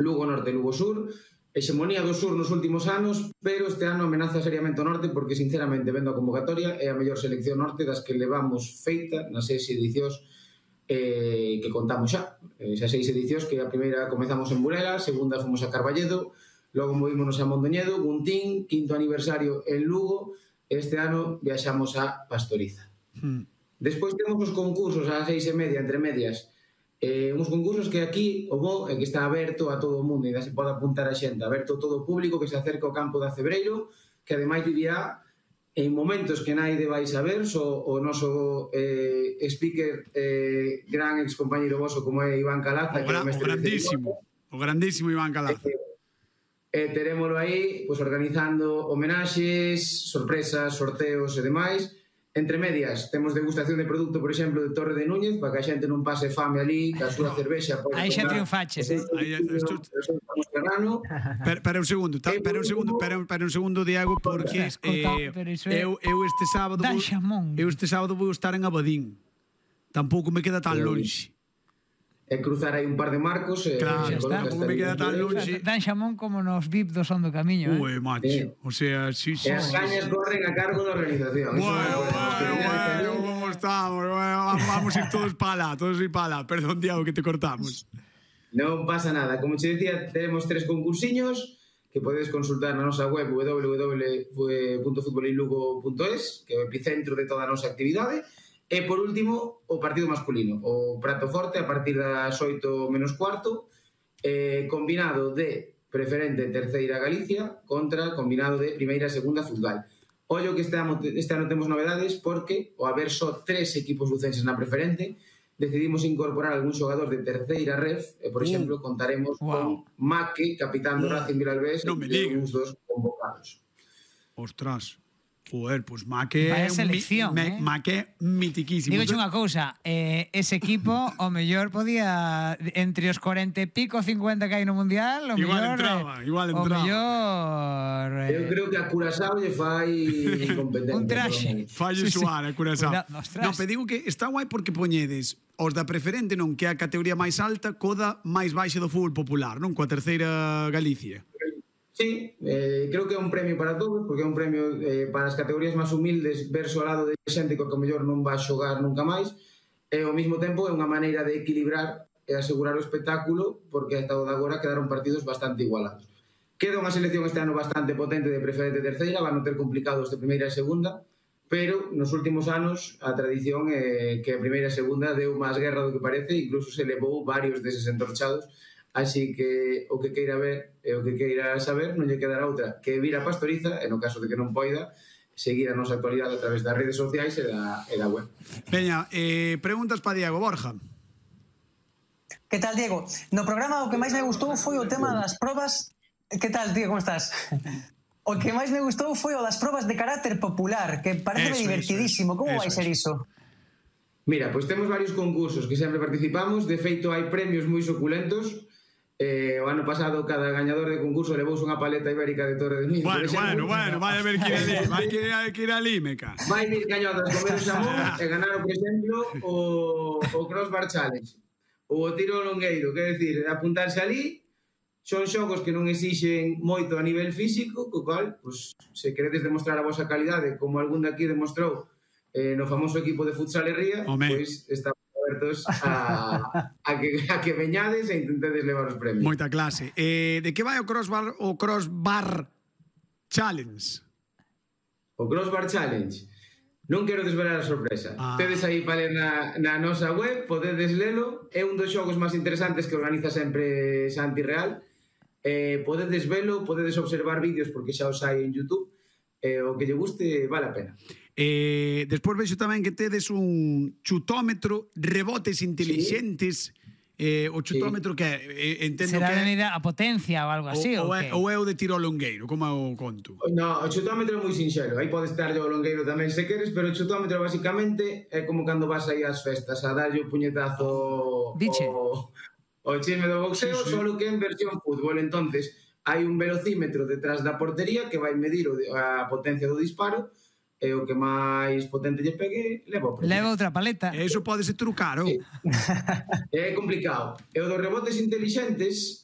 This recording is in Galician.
Lugo Norte e Lugo Sur, hexemonía do Sur nos últimos anos, pero este ano amenaza seriamente o Norte porque, sinceramente, vendo a convocatoria, é a mellor selección Norte das que levamos feita nas 6 edicións que contamos xa. Esas 6 edicións que a primeira comezamos en Burela, a segunda fomos a Carballedo, logo movímonos a Mondoñedo, Guntín, 5º aniversario en Lugo, e este ano viaxamos a Pastoriza. Despois temos os concursos a 6:30, entre medias, uns concursos que aquí o bo é que está aberto a todo o mundo e se pode apuntar a xente, aberto a todo o público que se acerca ao campo da Cebreiro, que ademais vivirá en momentos que naide vai saber, o noso speaker, gran ex compañeiro voso como é Iván Calaza, o grandísimo Iván Calaza. Terémolo aí organizando homenaxes, sorpresas, sorteos e demais. Entre medias, temos degustación de produto, por exemplo, de Torre de Núñez, para que a xente non pase fame ali, que a súa cervexa... Aí xa triunfaches, Espera un segundo, Diego, porque eu este sábado vou estar en Abadín. Tampouco me queda tan longe. E cruzar aí un par de marcos. Claro, tampouco me queda tan longe. Dan xamón como nos VIP do Son do Camiño. Ue, macho, o sea, sí. E as cañas corren a cargo da organización. Bueno, como estamos, vamos ir todos para lá, perdón, Diego, que te cortamos. Non pasa nada, como che decía, tenemos 3 concursiños que podedes consultar na nosa web www.futbolinlugo.es, que é o epicentro de toda a nosa actividade. E, por último, o partido masculino, o prato forte a partir das 8 menos cuarto, combinado de preferente terceira Galicia contra combinado de primeira e segunda Futgal. Ollo que este ano temos novedades porque, ao haber só 3 equipos lucenses na preferente, decidimos incorporar algún xogador de terceira ref e, por exemplo, contaremos con Maque, capitán do Racing Vilalbés, e uns dos convocados. Ostras. Joder, pues Maque é selección, Maque mitiquísimo. Digo unha cousa, ese equipo o mellor podía entre os 40 e pico 50 que hai no Mundial, o igual mellor entraba. O mellor eu creo que a Curazao lle fai incompetente. Un traxe. Falle suar a Curazao. Non, pero digo que está guai porque poñedes os da preferente, non, que é a categoría máis alta, coda máis baixa do fútbol popular, non, coa terceira Galicia. Sí, creo que é un premio para todos, porque é un premio para as categorías máis humildes verso ao lado de xente que o mellor non vai xogar nunca máis, e ao mesmo tempo é unha maneira de equilibrar e asegurar o espectáculo, porque hasta o de agora quedaron partidos bastante igualados. Queda unha selección este ano bastante potente de preferente e terceira, van a ter complicados de primeira e segunda, pero nos últimos anos a tradición é que a primeira e segunda deu máis guerra do que parece, incluso se levou varios deses entorchados. Así que o que queira ver e o que queira saber non lle quedará outra que vir a Pastoriza, e no caso de que non poida, seguir a nosa actualidade a través das redes sociais e da web. Veña, preguntas para Diego. Borja. Que tal, Diego? No programa o que máis me gustou foi o tema das probas. Que tal, tío, como estás? O que máis me gustou foi o das probas de carácter popular, que parece divertidísimo. Como vai ser iso? Mira, pois temos varios concursos que sempre participamos. De feito, hai premios moi suculentos. O ano pasado cada gañador de concurso levouse unha paleta ibérica de Torre de Núñez. Bueno, vai a ver que ir ali, meca. Vai ir gañadas comer o xamón e ganaron, por exemplo, o Crossbar Challenge ou o tiro longueiro, quer decir, apuntarse ali. Son xogos que non exixen moito a nivel físico, co cal, se queredes demostrar a vosa calidade, como algún de aquí demostrou no famoso equipo de futsal e ría, pois estamos abertos a que veñades e intentedes levar os premios. Moita clase. De que vai o Crossbar Challenge? O Crossbar Challenge? Non quero desvelar a sorpresa. Tedes aí para ler na nosa web, podedes lelo. É un dos xogos máis interesantes que organiza sempre Santi Real. Podedes velo, podedes observar vídeos porque xa os hai en YouTube. O que lle guste vale a pena. Despois vexo tamén que tedes un chutómetro, rebotes intelixentes. O chutómetro que entendo será que de medida a potencia ou algo así, ou é o de tiro ao longueiro, como o conto? No, o chutómetro é moi sinxelo. Aí pode estar o longueiro tamén se queres, pero o chutómetro basicamente é como cando vas aí ás festas a darlle o puñetazo o chisme do boxeo, solo que en versión fútbol. Entonces hai un velocímetro detrás da portería que vai medir a potencia do disparo, e o que máis potente lle pegue leva o premio. Leva outra paleta. Eso pode ser trucar, ou? É complicado. E o dos rebotes intelixentes